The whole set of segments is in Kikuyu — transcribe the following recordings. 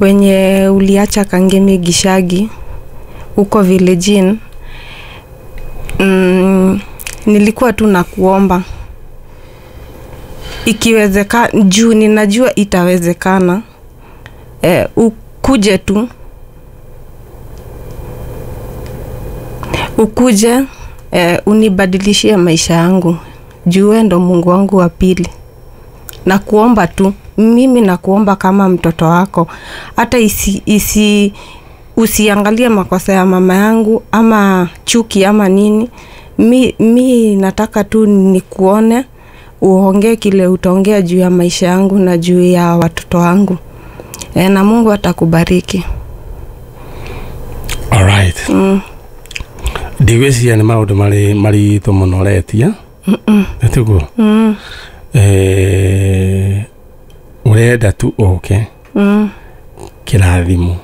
Wenye uliacha Kangemi Gishagi huko village. Nilikuwa tu nakuomba ikiwezekana, juu ninajua itawezekana, ukuje tu, ukuje unibadilishie maisha yangu, juu wewe ndo Mungu wangu wa pili. Nakuomba tu, mimi nakuomba kama mtoto wako, hata usiangalie makosa ya mama yangu ama chuki ama nini. Mi nataka tu nikuone, uongee kile utaongea juu ya maisha yangu na juu ya watoto wangu. Na Mungu atakubariki. All right. Ndigwĩciria nĩ maũndũ marĩ maritũ mũno ũretia. Nĩ tiguo? Ũrenda tu ũke kĩrathimo.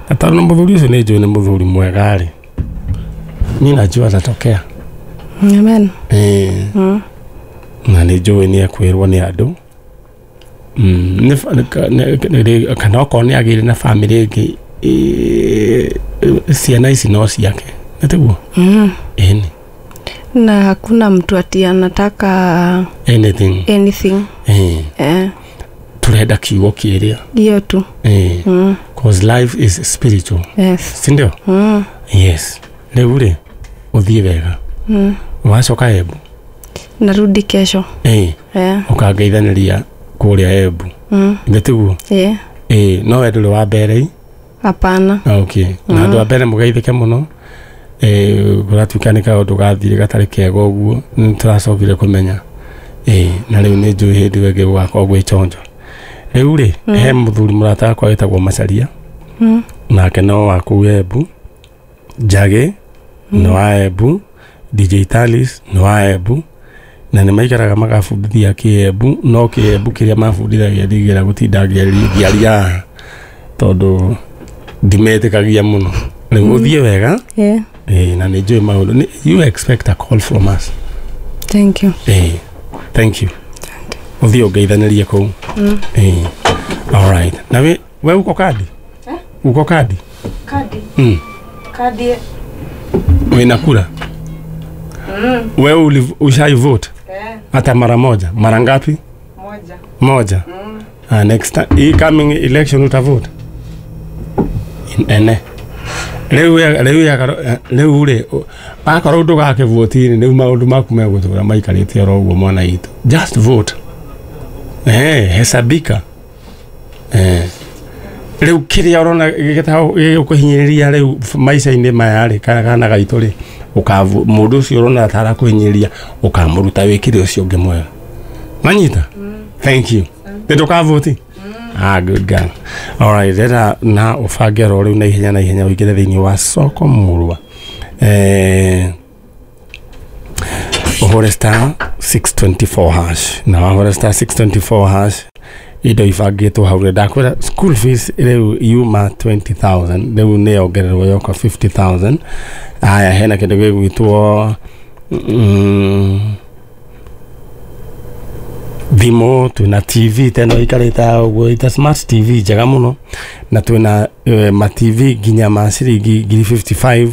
Na tondũ mũthuri ũcio nĩ njũĩ nĩ mũthuri mwega rĩ, niĩ najua atatokea. Amen. Na nĩ njũĩ nĩ ekwĩrwo nĩ andũ. Kana okorwo nĩ agĩire na bamĩrĩ ĩngĩ, ciana ici no ciake. Nĩ tiguo? Ĩni. Na hakuna mtu ati anataka anything. Turenda kiugo kĩrĩa. Hiyo tu. Cause life is spiritual. Yes. Si ndio? Yes. Rĩu rĩ, ũthiĩ wega. Wacoka Embu? Narudi kesho. Ũkangeithanĩria kũrĩa Embu. Nĩ tiguo? No we ndũrĩ wa mbere? Hapana. Okay. Na andũ a mbere mũgeithĩke mũno. Kũratuĩka nĩ kaũndũ gathire gatarĩ kega ũguo, nĩ tũracokire kũmenya. Na rĩu nĩ njũĩ hĩndĩ ĩyo ĩngĩ gũgakorwo gwĩ chonjo. Rĩu rĩ, he mũthuri mũrata wakwa wĩtagwo Macharia. Nake no wa kũu Embu. Njagĩ nĩ wa Embu, DJ Talis nĩ wa Embu, na nĩ maikaraga magabundithia kĩembu, no kĩembu kĩrĩa mabundithagia ndigĩra gũtinda ngĩaria tondũ ndimetĩkagia mũno. Rĩu ũthiĩ wega. Na nĩ njũĩ maũndũ. You expect a call from us. Thank you. Thank you. Ũthiĩ ũngeithanĩrie kũu. All right. Na we uko kadi? Uko kadi? Kadi. Kadi. Wena kura? Wewe ushai vote? Hata mara moja. Mara ngapi? Moja. Moja. Next time, hii coming election utavote? Ene. Rĩu rĩ, akorwo ndũgakĩvotini rĩu maũndũ maku megũtũra maikarĩte oro ũguo mwana witũ. Just vote. Hesabika. Rĩu kĩrĩa ũrona gĩgũkũhinyĩrĩria rĩu maica-inĩ maya rĩ, kana gaitũ rĩ, mũndũ ũcio ũrona ta arakũhinyĩrĩria ũkamũruta wĩkĩre ũcio ũngĩ mwega. Manyita? Thank you. Nĩ ndũkavoti? Good girl. All right, rera na ũbange oro rĩu na ihenya na ihenya ũingĩre thĩinĩ wa soko mũrwa. Ũhũre star 624 hash. Na wahũra star 624 hash indo ibangĩtwo hau. Ndakwĩra school fees rĩu yuma 20,000, rĩu nĩ yongererwo yoka 50,000. Aya, hena kĩndũ gĩgwĩtwo thimũ, twĩna TV teno ikarĩte ũguo, ita smart TV njega mũno, na twĩna ma TV nginya ma ciringi 55.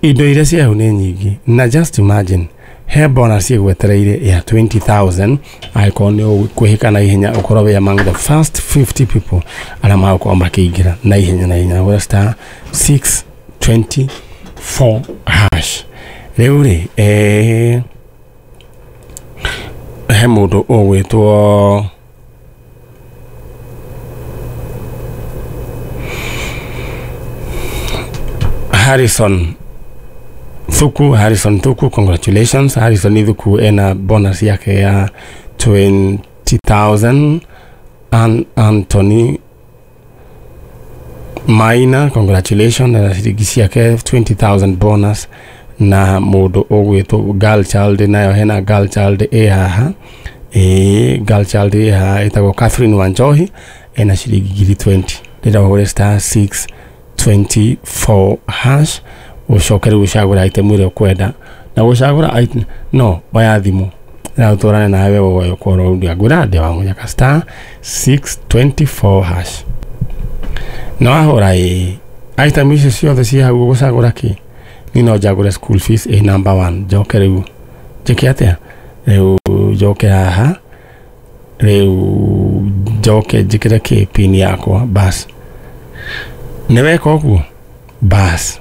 Indo iria cia hau nĩ nyingĩ, na just imagine he bonus ĩgwetereire ya 20,000 angĩkorwo nĩ ũkwĩhĩka na ihenya ũkorwo wĩ among the first 50 people arĩa magũkorwo makĩingĩra na ihenya na ihenya. Gũra star 624 hash. Rĩu rĩ, he mũndũ ũgwĩtwo Harrison Thuku. Harrison Thuku, congratulations. Harrison Thuku ena bonus yake ya 20,000. Anthony Maina, congratulations, na ciringi ciake 20,000 bonus. Na mũndũ ũgwĩtwo girl child, nayo hena girl child ĩ haha. Girl child ĩ haha ĩtagwo Catherine Wanjohi, ena ciringi 20. Rĩrĩa ũhũre star 624 hash ũcoke rĩu ũcagũre item ĩrĩa ũkwenda, na gũcagũra item no oya thimũ na ũtwarane nawe ũgoyo kworo ũrĩa ngwĩra ndĩ wa mũnyaka star 624 hash. Na wahũra ĩĩ item icio ciothe ciĩ hau ũgũcagũra kĩ? Niĩ no njagũre school fees ĩ number 1 njoke rĩu njĩke atĩa? Rĩu njoke haha rĩu njoke njĩkĩre kĩ pin yakwa bas. Nĩ weka ũguo bas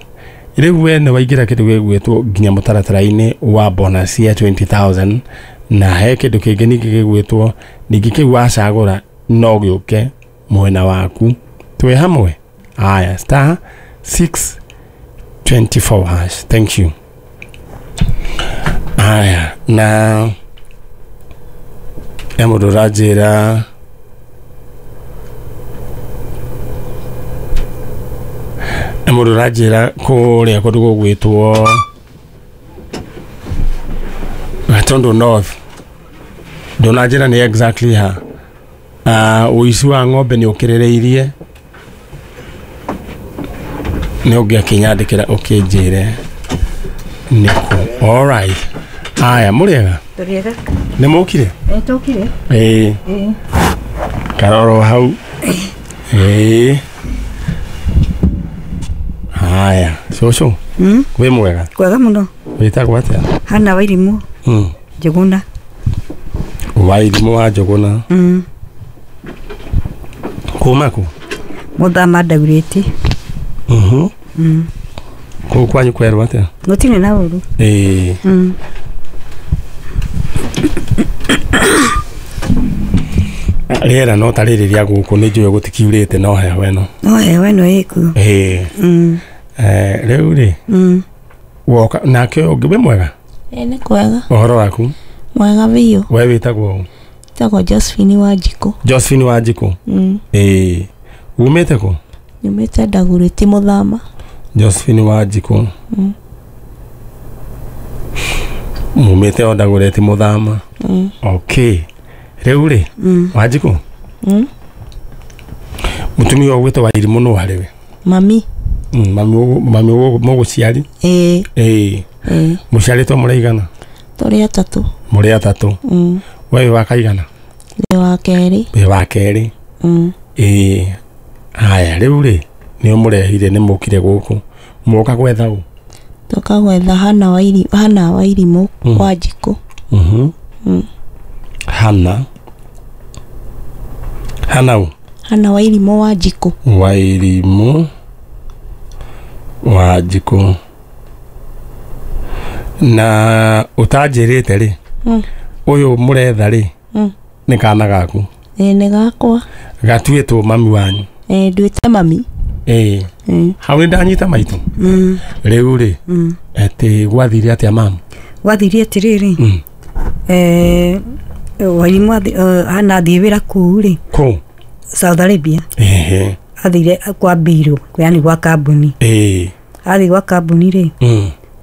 rĩu we nĩ waingĩra kĩndũ gĩgwĩtwo nginya mũtaratara-inĩ wa bonus ya 20,000 na he kĩndũ kĩngĩ ningĩ gĩgwĩtwo ningĩ kĩu wacagũra no gĩũke mwena waku twĩ hamwe. Aya star 624 hash. Thank you. Aya na he mũndũ ũranjĩra mũndũ ũranjĩra kũrĩa kũndũ gũgwĩtwo Gatundu North ndũnanjĩra nĩ exactly ha ũici wa ng'ombe nĩ ũkĩrĩrĩirie nĩ ũngĩakĩnyandĩkĩra ũkĩnjĩre nĩkũ. All right. Aya mũrĩega? Tũrĩega. Nĩ mũkire? Tũkire. Ĩĩ. Karoro hau. Ĩĩ. Haya, cũcũ. Wĩ mwega? Kwega mũno. Wĩtagwo atĩa? Hana Wairimũ. Njũgũna. Wairimũ wa Njũgũna. Kuma kũ? Mũthama Ndaurĩti. Kũu kwanyu kwerwo atĩa? Gũtirĩ na ũru. Ĩĩ. Rĩera no ta rĩrĩ rĩa gũkũ nĩ njũĩ gũtikiurĩte no heho ĩno. No heho ĩno ĩkuo. Ĩĩ. Rĩu rĩ woka nake ũngĩ wĩ mwega? Ĩĩ nĩ kwega. Ũhoro waku? Mwega biũ. We wĩtagwo ũ? Wĩtagwo Josephine Wanjikũ. Josephine Wanjikũ. Ĩĩ. Umĩte kũ? Nyumĩte Ndagurĩti Mũthama. Josephine Wanjikũ. Mumĩte o Ndagurĩti Mũthama. Okay. Rĩu rĩ Wanjikũ mũtumia ũyũ ũgwĩtwo Wairimũ nũ harĩ we? Mami. Mami mũgũciari? Ĩĩ. Ĩĩ. Mũciarĩtwo mũrĩ aigana? Tũrĩ atatũ. Mũrĩ atatũ. We wĩ wa kaigana? Ndĩ wa kerĩ. Wĩ wa kerĩ. Ĩĩ. Haya rĩu rĩ nĩ ũmũrehire nĩ mũkire gũkũ mũka gwetha ũ? Tũka gwetha Hana Wairimũ Wanjikũ. Hana Hana ũ? Hana Wairimũ Wanjikũ. Wairimũ Wanjikũ. Na ũtanjĩrĩte rĩ ũyũ mũretha rĩ nĩ kana gaku? Ĩĩ nĩ gakwa. Gatuĩtwo mami wanyu? Ĩĩ nduĩte mami. Ĩĩ. Hau nĩ ndanyita maitũ. Rĩu rĩ atĩ gwathire atĩa mamu? Gwathire atĩrĩrĩ Wairimũ Hana athiĩ wĩra kũu rĩ. Kũ? Saudi Arabia. Ehe. Athire kwa mbirũ yani gwa kambuni. Ĩĩ. Athiĩ gwa kambuni rĩ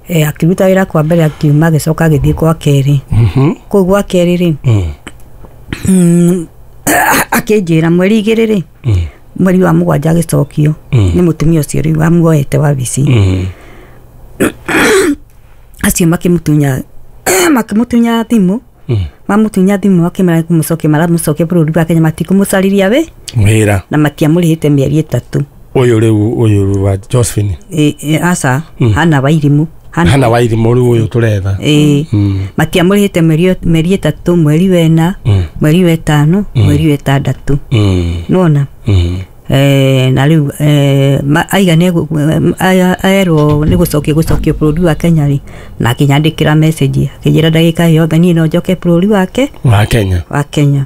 akĩruta wĩra kwa mbere akiuma agĩcoka agĩthiĩ kwa kerĩ. Kũu gwa kerĩ rĩ akĩnjĩra mweri 2 rĩ mweri wa 7 agĩcokio nĩ mũtumia ũcio rĩu amuoete wabici. Acio makĩmũtunya thimũ. Mamũtunya thimũ akĩmera kũmũcokia maramũcokia bũrũri wa Kenya matikũmũcarĩria we wĩra na matiamũrĩhĩte mĩeri 3. Ũyũ rĩu ũyũ wa Josephine? Aca Hana Wairimũ. Hana Wairimũ rĩu ũyũ tũretha. Ĩĩ. Matiamũrĩhĩte mĩeri 3 mweri wa 4 mweri wa 5 mweri wa 6. Nĩwona? Na rĩu aiga nĩ erwo nĩ gũcokio bũrũri wa Kenya rĩ na akĩnyandĩkĩra message akĩnjĩra ndagĩka yothe niĩ no njoke bũrũri wake wa Kenya.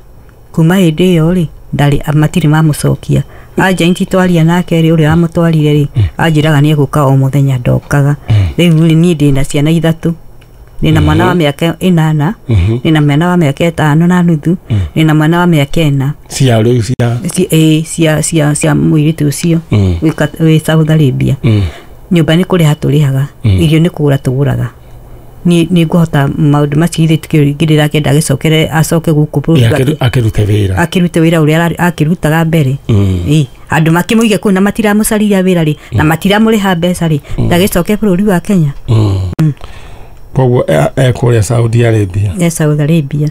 Kuma hĩndĩ ĩyo rĩ ndarĩ matirĩ mamũcokia. Agent twaria nake rĩ ũrĩa wamũtwarire rĩ anjĩraga nĩ egũka o mũthenya ndokaga. Rĩu rĩ niĩ ndĩna ciana 3. Ndĩna mwana wa mĩaka 8 ndĩna mwana wa mĩaka 5.5 ndĩna mwana wa mĩaka 4. Cia rĩu cia cia cia mũirĩtu ũcio wĩ Saudi Arabia. Nyũmba nĩ kũrĩha tũrĩhaga, irio nĩ kũgũra tũgũraga. Nĩ ngũhota maũndũ macio ithuĩ tukĩrĩra kenda agĩcokere acoke gũkũ bũrũri akĩrute wĩra. Akĩrute wĩra ũrĩa akĩrutaga mbere. Ĩĩ. Andũ makĩmũige kũu na matiramũcarĩria wĩra rĩ na matiramũrĩha mbeca rĩ ndagĩcoke bũrũri wa Kenya. Koguo ekũrĩa Saudi Arabia. Saudi Arabia.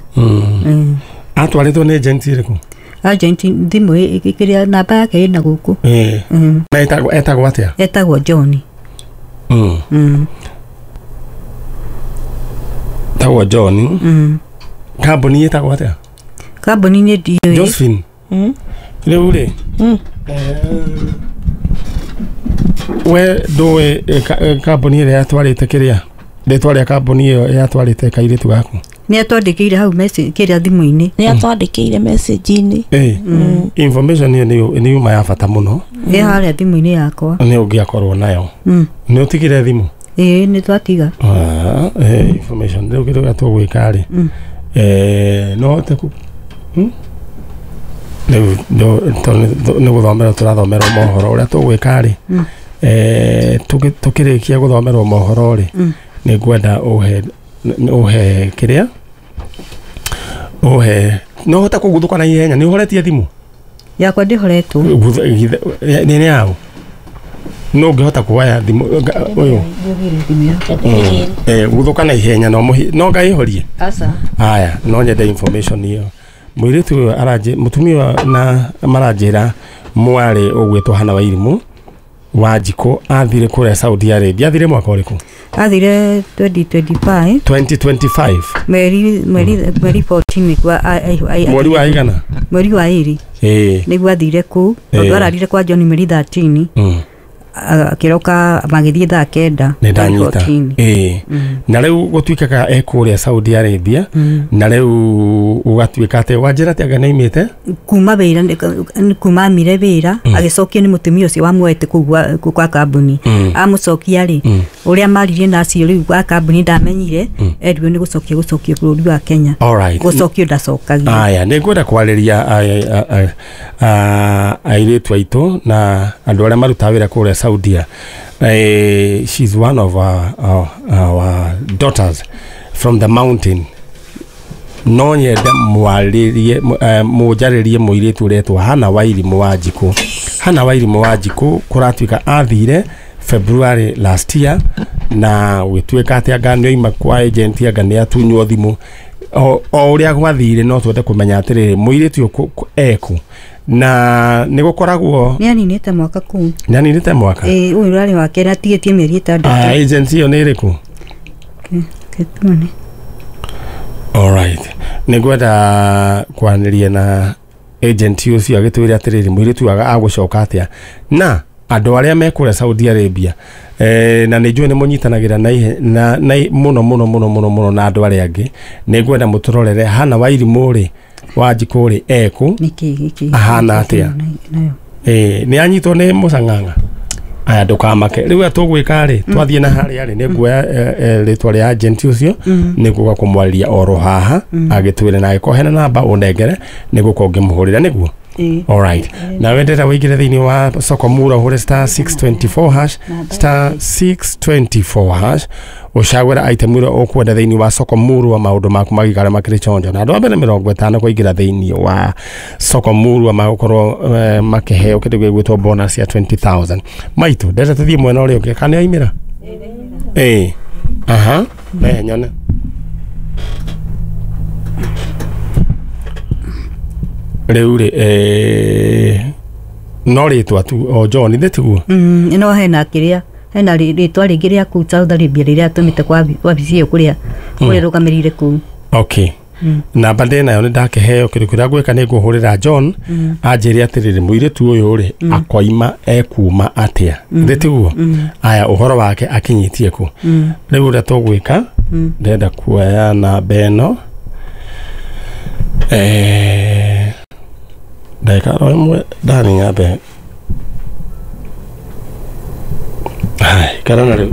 Atwarĩtwo nĩ agent ĩrĩkũ? Agent thimũ ĩkĩrĩa namba yake ĩna gũkũ. Na etagwo atĩa? Etagwo John. Etagwo John. Kambuni ĩtagwo atĩa? Kambuni nĩ ndiũĩ. Josephine. Rĩu rĩ we ndũĩ kambuni ĩrĩa yatwarĩte kĩrĩa rĩtwa rĩa kambuni ĩyo yatwarĩte kairĩtu gaku? Nĩ atwandĩkĩire hau message kĩrĩa thimũ-inĩ. Nĩ atwandĩkĩire message-inĩ. Information ĩyo nĩ yuma ya bata mũno. Ĩ harĩa thimũ-inĩ yakwa. Nĩ ũngĩakorwo nayo. Nĩ ũtigire thimũ? Ĩĩ nĩ twatiga. Information rĩu kĩndũ gĩa tũgwĩka rĩ no hote rĩu nĩ gũthomerwo tũrathomerwo mohoro ũrĩa tũgwĩka rĩ tũkĩrĩkia gũthomerwo mohoro rĩ nĩ ngwenda ũhe kĩrĩa ũhe no hote kũguthũka na ihenya. Nĩ ũhoretie thimũ yakwa? Ndĩhoretwo. Nĩ yaũ? No ũngĩhota kuoya thimũ ũyũ guthũka na ihenya no ngaĩhorie. Aca. Aya, no nyende information ĩyo. Mũirĩtu ũyũ mũtumia na maranjĩra mwarĩ ũgwĩtwo Hana Wairimu Wanjikũ athire kũrĩa Saudi Arabia. Athire mwaka ũrĩkũ? Athire 2025. 2025. Mweri 14 kwa mweri wa igana? Mweri wa 2. Nĩguo athire kũu. Tondũ ararire kwa John mweri 13. Akĩroka magĩthiĩ thaa 9. Nĩ ndanyita. Na rĩu gũtuĩkaga e kũrĩa Saudi Arabia na rĩu ũgatuĩka atĩ wanjĩra atĩ anga nĩaimĩte kuma wĩra, kuma amire wĩra agĩcokio nĩ mũtumia ũcio wamuoete kũu kwa kambuni. Amũcokia rĩ ũrĩa maririe na acio rĩu wa kambuni ndamenyire erirwo nĩ gũcokia bũrũri wa Kenya. Gũcokio ndacokagia. Aya, nĩ ngwenda kwarĩria airĩtu aitũ na andũ arĩa marutaga wĩra kũrĩa Saudia. She's one of our daughters from the mountain. No nyende mwarĩrie mũnjarĩrie mũirĩtu ũretwo Hana Wairimu Wanjikũ. Hana Wairimu Wanjikũ kũratuĩka athire February last year na gwĩtuĩka atĩ anga nĩoima kwa agent anga nĩatunywo thimũ. O ũrĩa gwathire no twende kũmenya atĩrĩrĩ mũirĩtu ũyũ ekũ na nĩ gũkoragwo nĩ aninĩte mwaka kũu. Nĩ aninĩte mwaka? Ĩĩ, ũyũ ũrarĩ wa kerĩ atigĩtie mĩeri 6. Agency ĩyo nĩ ĩrĩkũ? Ketuone. Alright. Nĩ ngwenda kwaranĩria na agent ũcio agĩtwĩre atĩrĩrĩ mũirĩtu agũcoka atĩa na andũ arĩa me kũrĩa Saudi Arabia na nĩ njũĩ nĩ mũnyitanagĩra na mũno mũno mũno mũno mũno na andũ arĩa angĩ. Nĩ ngwenda mũtũrorere Hana Wairimu rĩ Wanjikũ rĩ ekũ ahana atĩa. Nĩ anyitwo nĩ mũcang'ang'a. Aya, ndũkamake. Rĩu tũgwĩka rĩ twathiĩ na harĩa rĩ nĩ nguoya rĩtwa rĩa agent ũcio nĩ ngũka kũmwarĩria oro haha agĩtwĩre na agĩkorwo hena namba ũnengere nĩ gũkorwo ngĩmũhũrĩra nĩguo. Alright. Na wendera wĩingĩre thĩinĩ wa Soko Mura ũhũre star 624 hash star 624 hash ũcagũre item ĩrĩa ũkwenda thĩinĩ wa Soko Murwa maũndũ maku magĩikara makĩrĩ chonjo. Na andũ a mbere 50 kũingĩra thĩinĩ wa Soko Murwa magũkorwo makĩheo kĩndũ gĩgwĩtwo bonus ya 20,000. Maitũ ndenda tũthiĩ mwena ũrĩa ũngĩ kana nĩaimĩra? Aha, rehe nyone. Rĩu rĩ no rĩtwa tu o John ithe tiguo? No hena kĩrĩa hena rĩtwa rĩngĩ rĩa kũu Saudi Arabia rĩrĩa atũmĩte kwa wabici ĩyo kũrĩa rũgamĩrĩire kũu. Okay. Namba ndĩ nayo nĩ ndakĩheo kĩndũ kĩrĩa ngwĩka nĩ ngũhũrĩra John anjĩre atĩrĩrĩ mũirĩtu ũyũ rĩ akoima ekuma atĩa ithe tiguo? Aya, ũhoro wake akinyĩtie kũ? Rĩu ũrĩa tũgwĩka ndĩrenda kuoya namba ĩno ndagĩka oro ĩmwe ndani nyambe ikara na rĩu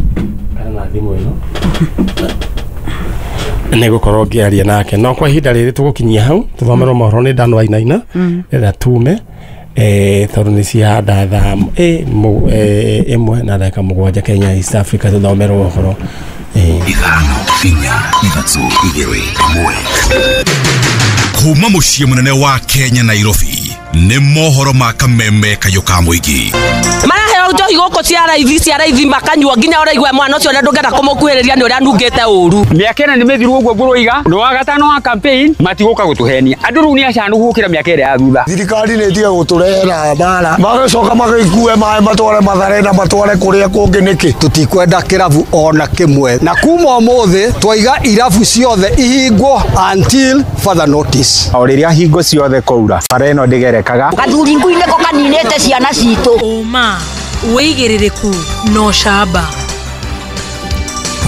ikara na thimũ ĩno nĩ gũkorwo ngĩaria nake no kwa ihinda rĩrĩ tũgũkinyia hau tũthomerwo mohoro nĩ Dan Wainaina ĩrĩa tume tondũ nĩ cihanda thaa 1 na ndagĩka 7 Kenya East Africa tũthomerwo ũhoro. 5 4 3 2 1 kuma mũciĩ mũnene wa Kenya Nairobi. Nĩ mohoro ma kameme kayũ ka mũingĩ. Maraheo njohi gũkũ cia raithi makanyua nginya ũraigua mwana ũcio na ndũngĩenda kũmũkuhĩrĩria nĩ ũrĩa anungĩte ũru. Mĩaka ĩna nĩ mĩthiru ũguo ngũrũiga ndũ wa gatano wa campaign matigũka gũtũhenia andũ rĩu nĩ acanu gũkĩra mĩaka ĩrĩa ya thutha. Thirikari nĩ ĩtige gũtũrehera mbara magĩcoka magĩkue maĩ matware Mathare na matware kũrĩa kũngĩ nĩkĩ. Tũtikwenda kĩrabu ona kĩmwe na kuma ũmũthĩ twaiga irabu ciothe ihingwo until further notice. O rĩrĩa hingo ciothe kũura bara ĩno ndĩgerekaga. Gathuri ngui nĩko kaninĩte ciana citũ. Ũma wĩigĩrĩrĩku no camba.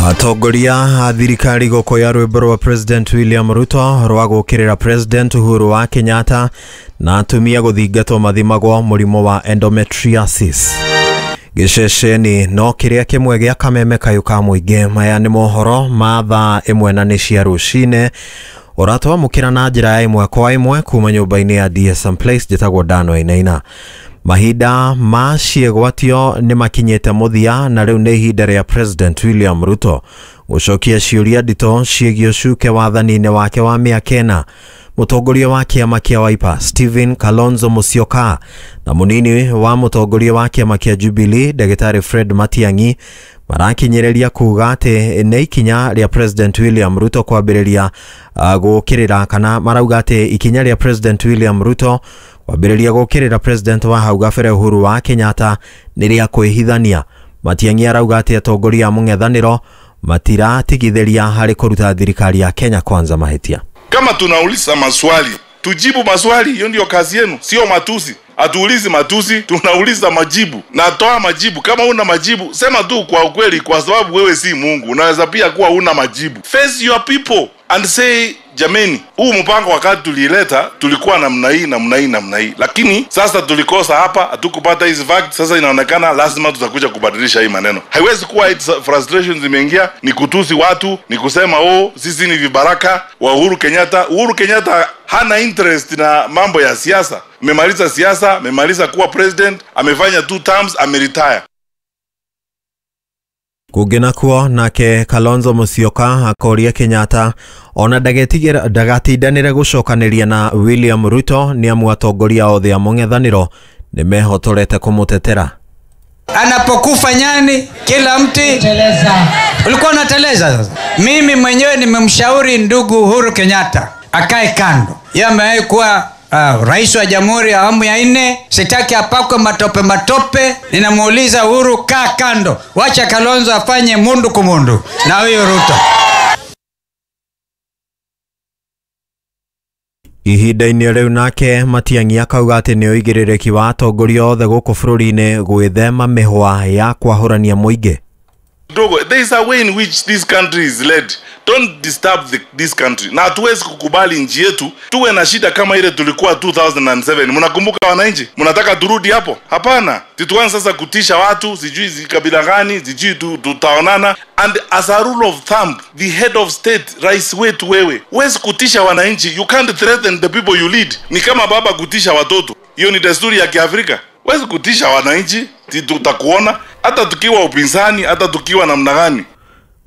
Atongoria a thirikari gũkũya rwĩmbo rwa President William Ruto rwa gũkĩrĩra President Uhuru wa Kenyatta na atumia gũthingatwo mathimagwo mũrimũ wa endometriosis. Gĩceceni no kĩrĩa kĩmwe gĩa kameme kayũ ka mũingĩ. Maya nĩ mohoro ma thaa ĩmwe na nĩ cia rũcinĩ ũratwamũkĩra na njĩra ya ĩmwe kwa ĩmwe kuma nyũmba-inĩ ya DSM Place. Njĩtagwo Dano Inaina. Mahinda ma ciĩgwatio nĩ makinyĩte mũthia na rĩu nĩ ihinda rĩa President William Ruto gũcokia ciũria nditũ ciĩgiĩ ũcuke wathani-inĩ wake wa mĩaka ĩna. Mũtongoria wa kĩama kĩa Wiper Stephen Kalonzo Musyoka na mũnini wa mũtongoria wa kĩama kĩa Jubilee Ndagĩtarĩ Fred Matiang'i marakinyĩrĩria kuga atĩ nĩ ikinya rĩa President William Ruto kwambĩrĩria gũkĩrĩra kana marauga atĩ ikinya rĩa President William Ruto kwambĩrĩria gũkĩrĩra President wa hau gabere Uhuru wa Kenyatta nĩ rĩa kwĩhithania. Matiang'i arauga atĩ atongoria a mũng'ethanĩro matiratigithĩria harĩ kũruta thirikari ya Kenya Kwanza mahĩtia. Kama tunauliza maswali, tujibu maswali, hiyo ndio kazi yenu, sio matusi. Hatuulizi matusi, tunauliza majibu. Na toa majibu. Kama una majibu, sema tu kwa ukweli, kwa sababu wewe si Mungu. Unaweza pia kuwa una majibu. Face your people and say, jameni, huu mpango wakati tulileta, tulikuwa namna hii, namna hii, namna hii. Lakini sasa tulikosa hapa, hatukupata hizi facts, sasa inaonekana lazima tutakuja kubadilisha hii maneno. Haiwezi kuwa frustration zimeingia, ni kutusi watu, ni kusema oh, sisi ni vibaraka wa Uhuru Kenyatta. Uhuru Kenyatta hana interest na mambo ya siasa. Amemaliza siasa, amemaliza kuwa president, amefanya 2 terms, ameretire. Kũngĩ nakuo nake Kalonzo Musyoka akoria Kenyatta ona ndagatindanĩre gũcokanĩria na William Ruto nĩ amu atongoria othe a mũng'ethanĩro nĩ mehotorete kũmũtetera. Anapokufa nyani kila mti teleza. Ulikuwa unateleza sasa. Mimi mwenyewe nimemshauri ndugu Uhuru Kenyatta akae kando. Yeye amewahi kuwa rais wa jamhuri ya awamu ya 4, sitaki apakwe matope matope. Ninamuuliza Uhuru, kaa kando, wacha Kalonzo afanye mundu kumundu na huyo Ruto. Ihinda-inĩ rĩu nake Matiang'i akauga atĩ nĩ ũigĩrĩrĩki wa atongoria othe gũkũ bũrũri-inĩ gwĩthema mĩhwa ya kwahũrania mũingĩ. Dogo, there is a way in which this country is led. Don't disturb this country. Na hatuwezi kukubali nchi yetu tuwe na shida kama ile tulikuwa 2007. Mnakumbuka wananchi? Mnataka turudi hapo? Hapana. Tuanze sasa kutisha watu, sijui kabila gani, sijui tutaonana. And as a rule of thumb, the head of state, rais wetu wewe, huwezi kutisha wananchi. You can't threaten the people you lead. Ni kama baba kutisha watoto. Hiyo ni desturi ya Kiafrika. Huwezi kutisha wananchi, tutakuona hata tukiwa upinzani, hata tukiwa namna gani.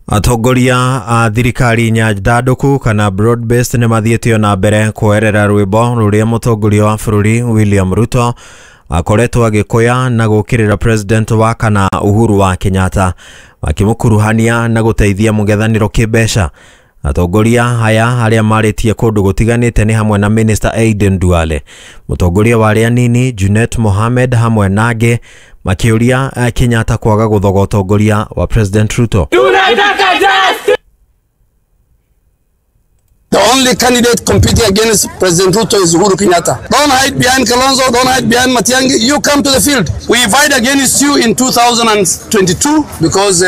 Atongoria a thirikari nyandandũku kana broad based nĩ mathiĩte na mbere kwoerera rwĩmbo rũrĩa mũtongoria wa bũrũri William Ruto akoretwo agĩkũya na gũkĩrĩra President wa kana Uhuru wa Kenyatta makĩmũkuruhania na gũteithia mũng'ethanĩro kĩmbeca. Atongoria aya arĩa marĩtie kũndũ gũtiganĩte nĩ hamwe na Minister Aden Duale, mũtongoria wa arĩa anini Junet Mohamed hamwe na angĩ makĩũria Kenyatta kwaga gũthoga ũtongoria wa President Ruto. Tunataka justice. The only candidate competing against President Ruto is Uhuru Kenyatta. Don't hide behind Kalonzo, don't hide behind Matiang'i. You come to the field. We fight against you in 2022 because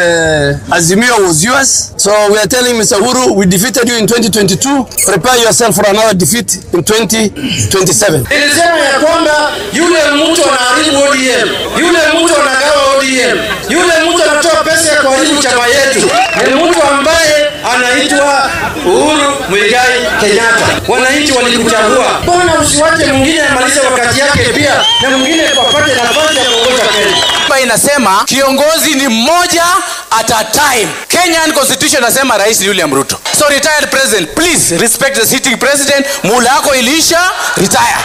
Azimio was yours. So we are telling Mr. Uhuru, we defeated you in 2022. Prepare yourself for another defeat in 2027. Nilisema ya kwamba yule mtu anaharibu ODM, yule mtu anagawa ODM, yule mtu anatoa pesa ya kuharibu chama yetu, ni mtu ambaye anaitwa Uhuru Muigai Kenyatta. Wananchi walikuchagua. Mbona usiwache mwingine amalize wakati yake pia na mwingine apate nafasi ya kuongoza Kenya? Katiba inasema kiongozi ni mmoja at a time. Kenyan constitution inasema Rais William Ruto. So retired president, please respect the sitting president. Muhula wako iliisha, retire.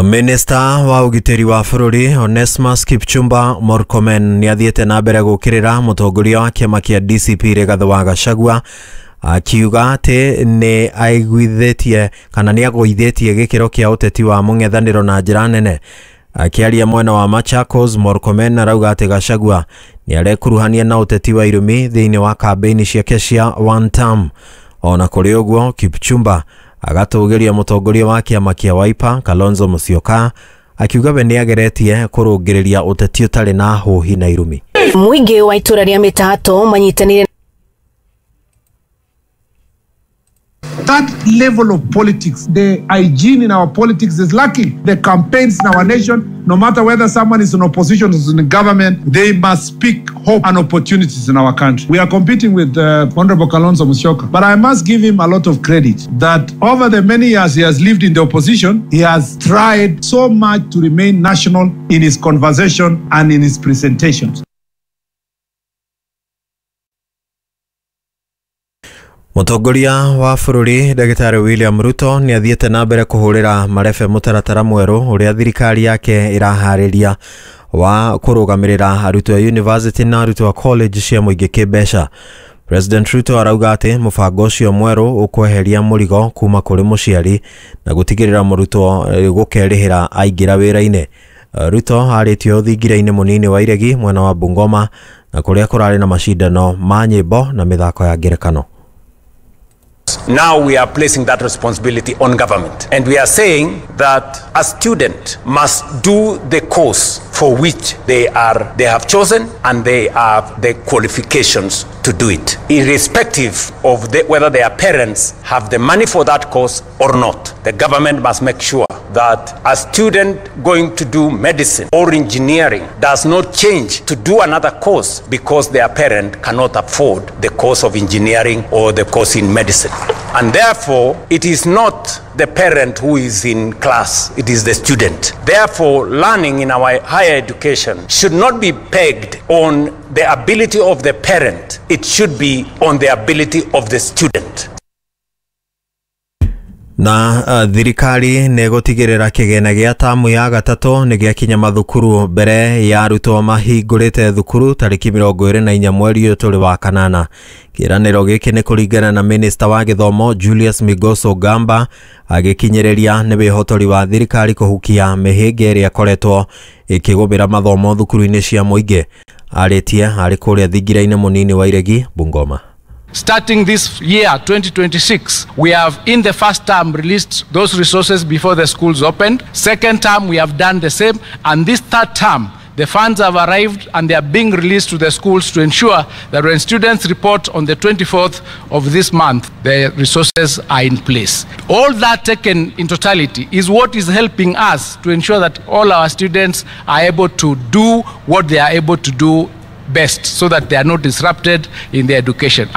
Minista wa ũgitĩri wa bũrũri Onesmus Kipchumba Murkomen nĩathiĩte na mbere gũkĩrĩra mũtongoria wa kĩama kĩa DCP Rigathĩ wa Gachagua akiuga atĩ nĩ aiguithĩtie kana nĩ agũithĩtie gĩkĩro kĩa ũteti wa mũng'ethanĩro na njĩra nene. Akiaria mwena wa Machakos, Murkomen arauga atĩ Gachagua nĩ arekuruhania na ũteti wa irumi thĩinĩ wa kambĩini ciake cia one term. Ona kũrĩ ũguo, Kipchumba agatũgĩria mũtongoria wa kĩama kĩa Wiper Kalonzo Musyoka akiuga we nĩageretie kũrũngĩrĩria ũteti ũtarĩ na hũhi na irumi. Mũingĩ wa itũra rĩa Mĩtato manyitanĩire. That level of politics, the hygiene in our politics is lacking. The campaigns in our nation, no matter whether someone is in opposition or is in government, they must speak hope and opportunities in our country. We are competing with Honorable Kalonzo Musyoka, but I must give him a lot of credit that over the many years he has lived in the opposition, he has tried so much to remain national in his conversation and in his presentations. Mũtongoria wa bũrũri Ndagĩtarĩ William Ruto nĩ athiĩte na mbere kũhũrĩra marebe mũtaratara mwerũ ũrĩa thirikari yake ĩraharĩria wa kũrũgamĩrĩra arutwo a university na arutwo a college cia mũingĩ kĩmbeca. President Ruto arauga atĩ mũbango ũcio mwerũ ũkweheria mũrigo kuma kũrĩ mũciari na gũtigĩrĩra mũrutwo gũkerĩhĩra aingĩra wĩra-inĩ. Ruto arĩtio thingira-inĩ mũnini wa Iregi mwena wa Bungoma na kũrĩa kũrarĩ na macindano ma nyĩmbo na mĩthako ya ngerekano. Now we are placing that responsibility on government, and we are saying that a student must do the course for which they have chosen and they have the qualifications to do it, irrespective of whether their parents have the money for that course or not. The government must make sure that a student going to do medicine or engineering does not change to do another course because their parent cannot afford the course of engineering or the course in medicine. And therefore, it is not the parent who is in class, it is the student. Therefore, learning in our higher education should not be pegged on the ability of the parent, it should be on the ability of the student. Na thirikari nĩ gũtigĩrĩra kĩgĩna gĩa tamu ya gatatũ nĩ gĩakinya mathukuru mbere ya arutwo mahingũrĩte thukuru tarĩki 24 mweri ũyũ tũrĩ wa kanana. Kĩĩranĩro gĩkĩ nĩ kũringana na minista wa gĩthomo Julius Migos Ogamba agĩkinyĩrĩria nĩ wĩhotori wa thirikari kũhukia mĩhĩnga ĩrĩa ĩkoretwo ĩkĩgũmĩra mathomo thukuru-inĩ cia mũingĩ. Arĩtie arĩ kũrĩa thingira-inĩ mũnini wa Iregi, Bungoma. Starting this year, 2026, we have in the first term released those resources before the schools opened. Second term, we have done the same. And this third term, the funds have arrived and they are being released to the schools to ensure that when students report on the 24th of this month, the resources are in place. All that taken in totality is what is helping us to ensure that all our students are able to do what they are able to do best so that they are not disrupted in their education.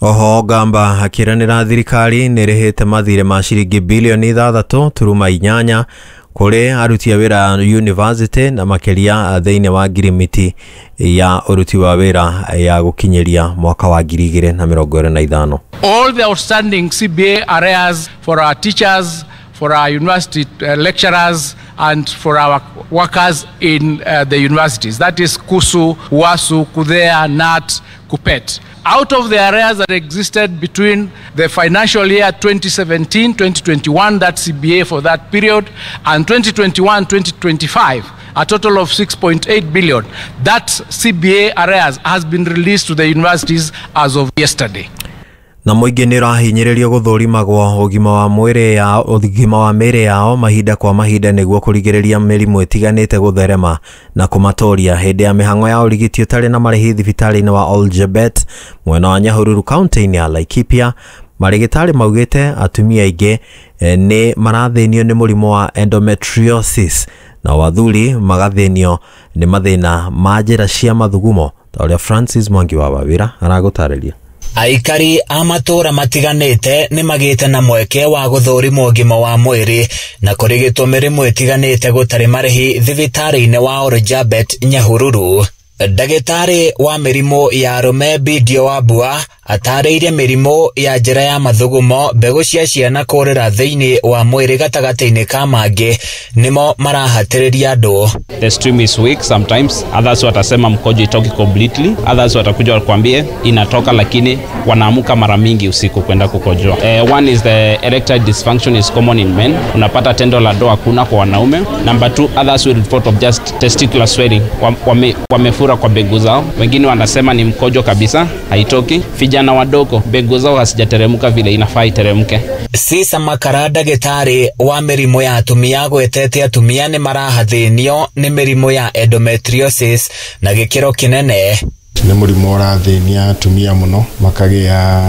Oho Gamba akiranĩra thirikari nĩ ĩrĩhĩte mathirĩ ma ciringi bilioni 6.8 kũrĩ aruti a wĩra university na makĩria thĩinĩ wa ngirimiti ya ũruti wa wĩra ya gũkinyĩria mwaka wa 2025. All the outstanding CBA arrears for our teachers, for our university lecturers and for our workers in the universities. That is KUSU, UASU, KUDHEA, NAT, KUPPET. Out of the arrears that existed between the financial year 2017-2021, that CBA for that period, and 2021-2025, a total of 6.8 billion, that CBA arrears has been released to the universities as of yesterday. Na mũingĩ nĩ ũrahinyĩrĩrio gũthũrimagwo ũgima wa mĩĩrĩ yao mahinda kwa mahinda nĩguo kũrigĩrĩria mĩrimũ ĩtiganĩte gũtherema na kũmatoria. Hĩndĩ ya mĩhang'o ya ũrigiti ũtarĩ na marĩhi thibitarĩ-inĩ wa Oljebet mwena wa Nyahururu kaunti-inĩ ya Laikipia, marĩgĩtarĩ maugĩte atumia aingĩ nĩ marathĩnio nĩ mũrimũ wa endometriosis na athuri magathĩnio nĩ mathĩna ma njĩra cia mathugumo, ta ũrĩa Francis Mwangi wa Wawĩra aragũtarĩria. Aikari a matũra matiganĩte nĩ magĩte na mweke wa gũthũrimwo ũgima wa mwĩrĩ na kũrigitwo mĩrimũ ĩtiganĩte gũtarĩ marĩhi thibitarĩ-inĩ wa Oljabet Nyahururu. Ndagĩtarĩ wa mĩrimũ ya arũme Bidio Wambua Atarĩirie mĩrimũ ya njĩra ya mathugumo, mbegũ cia ciana kũrĩra thĩinĩ wa mwĩrĩ gatagatĩ-inĩ ka mangĩ nĩmo marahatĩrĩria andũ. The stream is weak sometimes. Others watasema mkojo itoki completely. Others watakuja wakwambie inatoka lakini wanaamuka mara mingi usiku kwenda kukojoa. One is the erectile dysfunction is common in men. Unapata tendo la ndoa hakuna kwa wanaume. Number two, others will report of just testicular swelling. Wamefura kwa mbegu zao. Wengine wanasema ni mkojo kabisa, haitoki. Vijana wadogo mbegu zao hazijateremka vile inafaa iteremke. Cisa Makara ndagĩtarĩ wa mĩrimũ ya atumia agwetete atumia nĩ marahathĩnio nĩ mĩrimũ ya endometriosis na gĩkĩro kĩnene. Nĩ mũrimũ ũrathĩnia atumia mũno, makagĩa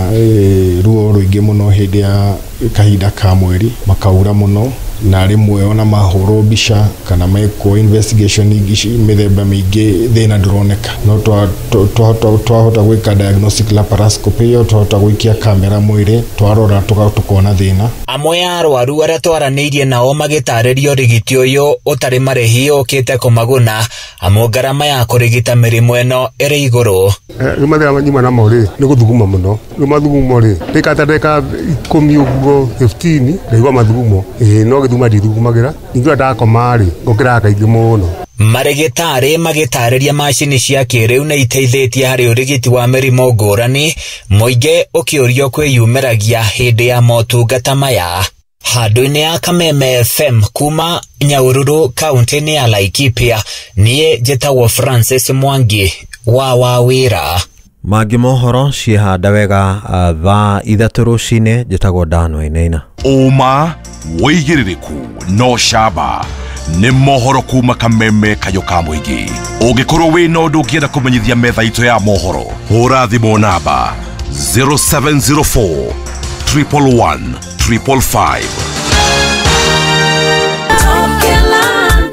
ruo rũingĩ mũno hĩndĩ ya kahinda ka mweri, makaura mũno, na rĩmwe ona mahũrwo mbica kana mekwo investigation mĩthemba mĩingĩ thĩna ndũroneka. No twahota gwĩka diagnostic laparoscopy ĩyo, twahota gũikia kamera mwĩrĩ, twarora tũkona thĩna. Amwe a arwaru arĩa twaranĩirie nao magĩtarĩrio ũrigiti ũyũ ũtarĩ marĩhi ũkĩte kũmaguna, amu ngarama ya kũrigita mĩrimũ ĩno ĩrĩ igũrũ. Rĩu mathĩna nyuma namo rĩ nĩ gũthuguma mũno. Rĩu mathugumo rĩ ndĩkata ndagĩka 10 ũguo 15 ndaigua mathugumo, no gĩthuma ndithugumagira, ningĩ ndakoma rĩ ngũkĩraga kaingĩ mũno. Marĩgĩtarĩ magĩtarĩria macini cia kĩrĩu nĩ iteithĩtie harĩ ũrigiti wa mĩrimũ ngũrani, mũingĩ ũkĩũrio kwĩyumĩragia hĩndĩ ya motungata maya. Handũ-inĩ ya Kameme FM kuma Nyahururu kaunti-inĩ ya Laikipia, niĩ njĩtagwo Francis Mwangi wa Wawĩra. Mangĩ mohoro ciĩhanda wega thaa 3 rũcinĩ. Njĩtagwo Dan Wainaina. Ũma wĩigĩrĩrĩku no camba nĩ mohoro kuma Kameme kayũ ka mũingĩ. Ũngĩkorwo wĩna ũndũ ũngĩenda kũmenyithia metha itũ ya mohoro, hũra thimũ namba 0704 111 555.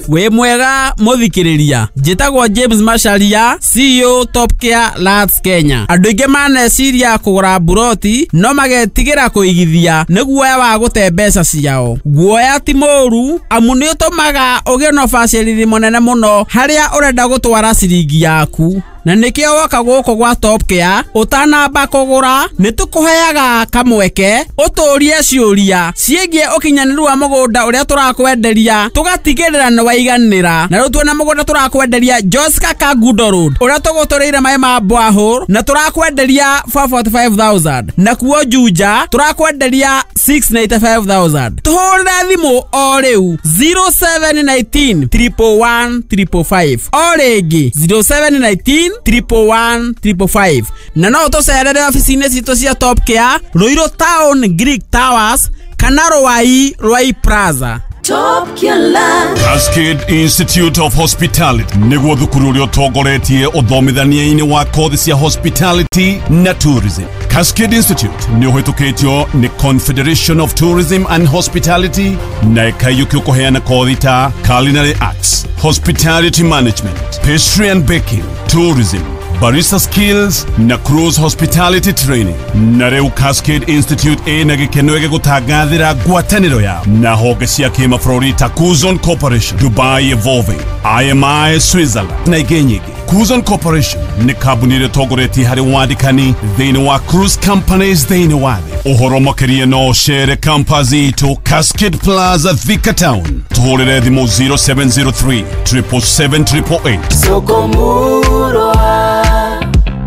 Wĩ mwega mũthikĩrĩria, njĩtagwo James Macharia, CEO Top Care Lands Kenya. Andũ aingĩ maneciria kũgũra mburoti no magetigĩra kũigithia nĩ guoya wa gũte mbeca ciao. Guoya ti mũũru, amu nĩ ũtũmaga ũgĩe na ũbacĩrĩri mũnene mũno harĩa ũrenda gũtwara ciringi yaku. Na nĩkĩo woka gũkũ gwa Top Care ũtanamba kũgũra nĩ tũkũheaga kamweke ũtũrie ciũria ciĩgiĩ ũkinyanĩru wa mũgũnda ũrĩa tũrakwenderia, tũgatigĩrĩra nĩ waiganĩra. Na rĩu tuona mũgũnda tũrakwenderia Joska Kangundo Road ũrĩa tũgũtũrĩire maĩ ma borehole na tũrakwenderia 445,000, na kuo Juja tũrakwenderia 695,000. Tũhũrĩre thimũ o rĩu 0719 111 555, o rĩngĩ 0719 111 555. Na no ũtũcerere ofici-inĩ citũ cia Top Care, Ruiru Town Greek Towers kana Ruai Ruai Plaza. Top Care. Cascade Institute of Hospitality nĩguo thukuru ũrĩa ũtongoretie ũthomithania-inĩ wa kothi cia hospitality na tourism. Cascade Institute nĩ ũhĩtũkĩtio nĩ Confederation of Tourism and Hospitality na ĩkaiyũkio kũheana kothi ta culinary arts, hospitality management, pastry and baking, tourism, barista skills na cruise hospitality training. Na rĩu Cascade Institute ĩna gĩkeno gĩgũtangathĩra ngwatanĩro yao na honge cia kĩmabũrũri ta Kuzon Corporation, Dubai Evolving, IMI Switzerland na ingĩ nyingĩ. Kuzon Corporation nĩ kambuni ĩrĩa ĩtongoretie harĩ wandĩkani thĩinĩ wa cruise companies thĩinĩ wa thĩ. Ũhoro makĩria no ũcere campus itũ Cascade Plaza, Thika Town. Tũhũrĩre thimũ 0703 777 888. Soko Murwa,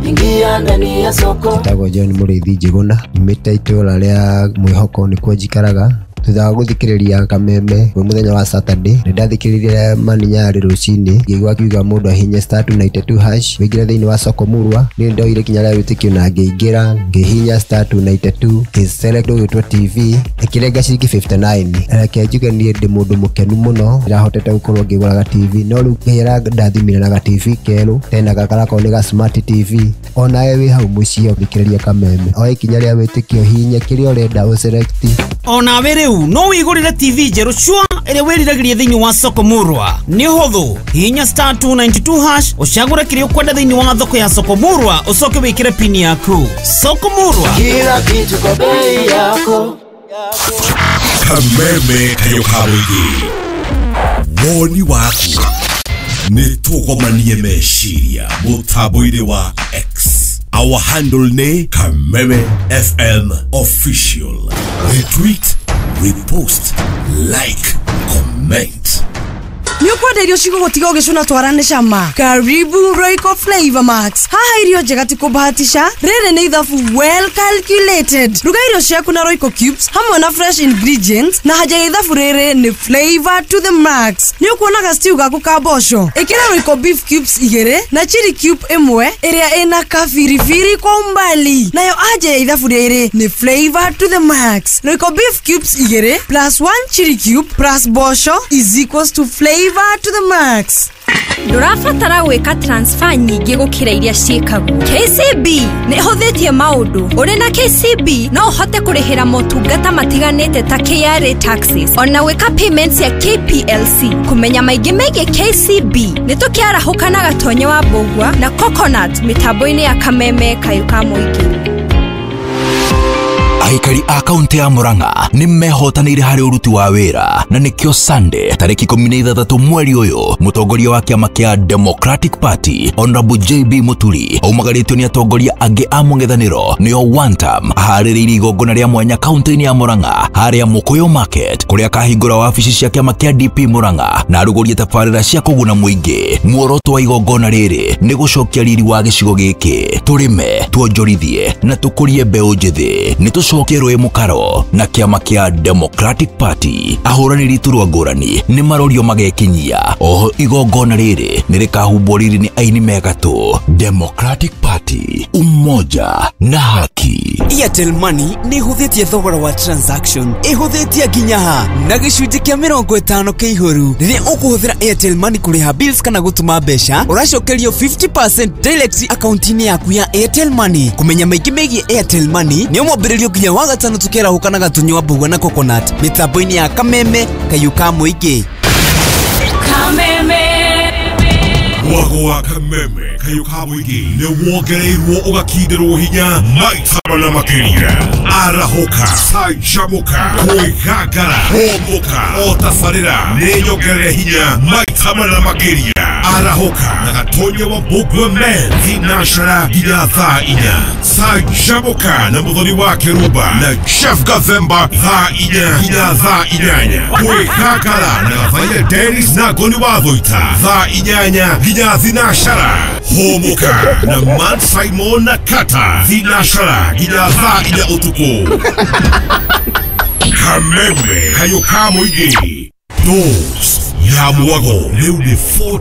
ingia ndani ya soko. Njĩtagwo John Mũrĩithi Njĩgũna, nyumĩte itũũra rĩa Mwĩhoko nĩkuo njikaraga. Thutha wa gũthikĩrĩria Kameme kwĩ mũthenya wa Saturday, nĩ ndathikĩrĩirie Mani Nyarĩ rũcinĩ, ngĩigua akiuga mũndũ ahinye *292# wĩingĩre thĩinĩ wa soko Murwa. Niĩ ndoire ikinya rĩa wĩtĩkio na ngĩingĩra, ngĩhihinya *292 ngĩselect ũgĩtwo TV, ĩkĩrenga ciringi 59. Reke njuge niĩ ndĩ mũndũ mũkenu mũno, ndĩrahotete gũkorwo ngĩgũra TV, no rĩu Ngai arandathimire na ga TV kerũ, tena gakarakorwo nĩ ga smart TV. Onawe wĩ hau mũciĩ ũthikĩrĩria Kameme, oya ikinya rĩa wĩtĩkio, hihinya kĩrĩa ũrenda ũselect. Onawe rĩu no wĩgũrĩre TV njerũ cua ĩrĩa wĩriragĩria thĩinĩ wa soko Murwa. Nĩ ũhũthũ, hihinya *292# ũcagũre kĩrĩa ũkwenda thĩinĩ wa thoko ya soko Murwa, ũcoke wĩkĩre pini yaku. Soko Murwa, kila kitu kwa bei yako. Kameme kayũ ka mũingĩ, woni waku nĩ tũgomanie meciria mũtambo-inĩ wa X. Our handle nĩ Kameme FM Official. Retweet, repost, like, comment. Nĩ ũkwenda irio cigũgũtiga ũgĩcũna twara nĩ cama? Karibu Royco Flavor Max. Haha irio njega ti kũbahatisha, rĩrĩ nĩ ithabu well calculated. Ruga irio ciaku na Royco Cubes hamwe na fresh ingredients, na haja ya ithabu rĩrĩ nĩ flavor to the max. Nĩ ũkuonaga stew gaku ka mboco, ĩkĩra Royco beef cubes 2 na chili cube 1 ĩrĩa ĩna kabiribiri kwa umbali. Nayo anja ya ithabu rĩrĩ nĩ flavor to the max. Royco beef cubes 2 plus 1 chili cube plus mboco is equals to flavor to the max. Ndũrabatara gwĩka transfer nyingĩ gũkĩra iria ciĩkagwo. KCB nĩ ĩhũthĩtie maũndũ. Ũrĩ na KCB no ũhote kũrĩhĩra motungata matiganĩte ta KRA taxes, ona gwĩka payments ya KPLC. Kũmenya maingĩ megiĩ KCB nĩ tũkĩarahũka na Gatonye wa Mbũgua na Coconut mĩtambo-inĩ ya Kameme Kayũ ka Mũingĩ. Aikari a kaunti ya Murang'a nĩ mehotanĩire harĩ ũruti wa wĩra, na nĩkĩo Sunday tarĩki 16 mweri ũyũ mũtongoria wa kĩama kĩa Democratic Party Honorable JB Muturi aumagarĩtio nĩ atongoria angĩ a mũng'ethanĩro nĩo one term aharĩrĩirie igongona rĩa mwanya kaunti-inĩ ya Murang'a harĩa Mũkũyũ Market kũrĩa akahingũra wabici cia kĩama kĩa DP Murang'a na arugũrie tabarĩra cia kũguna mũingĩ. Muoroto wa igongona rĩrĩ nĩ gũcokia riri wa gĩcigo gĩkĩ, tũrĩme, tuonjorithie na tũkũrie mbeũ njĩthĩ. Nĩ tũcokie rũĩ mũkaro na kĩama kĩa Democratic Party. Ahũranĩri iturwa ngũrani nĩ marorio magekinyia. Oho igongona rĩrĩ nĩ rĩkahumbwo riri nĩ aini megatũ. Democratic Party, umoja na haki. Airtel Money nĩ ĩhũthĩtie thogora wa transaction, ĩhũthĩtie nginya ha na gĩcunjĩ kĩa 50 kĩa igũrũ. Rĩrĩa ũkũhũthĩra Airtel Money kũrĩha bills kana gũtũma mbeca, ũracokerio 50% direct akaunti-inĩ yaku ya Airtel Money. Kũmenya maingĩ megiĩ Airtel Money nĩ mwambĩrĩrio nginya wa gatano tũkĩarahũka na Gatonye wa Mbũgua na Coconut mĩtambo-inĩ ya Kameme Kayũ ka Mũingĩ. Kameme. Mwago wa Kameme Kayũ ka Mũingĩ nĩ wongereirwo ũgakindĩrwo hinya maita mana makĩria. Arahũka, canjamũka, kwĩgangara, hũmũka, o tabarĩra nĩ nyongerere hinya maita mana makĩria. Arahũka na Gatonye wa Mbũgua men thinashara nginya thaa 4. Canjamũka na Mũthoni wa Kĩrumba na Chef Gathemba thaa 4 nginya thaa 8. Kwĩgangara na Gathaia Dennis na Ngoni wa Thũita thaa 8 nginya thinashara. Hũmũka na Matt Simon na Kata thinashara nginya thaa 4 ũtukũ. Kameme Kayũ ka Mũingĩ. Dose ya mwago rĩu nĩ 40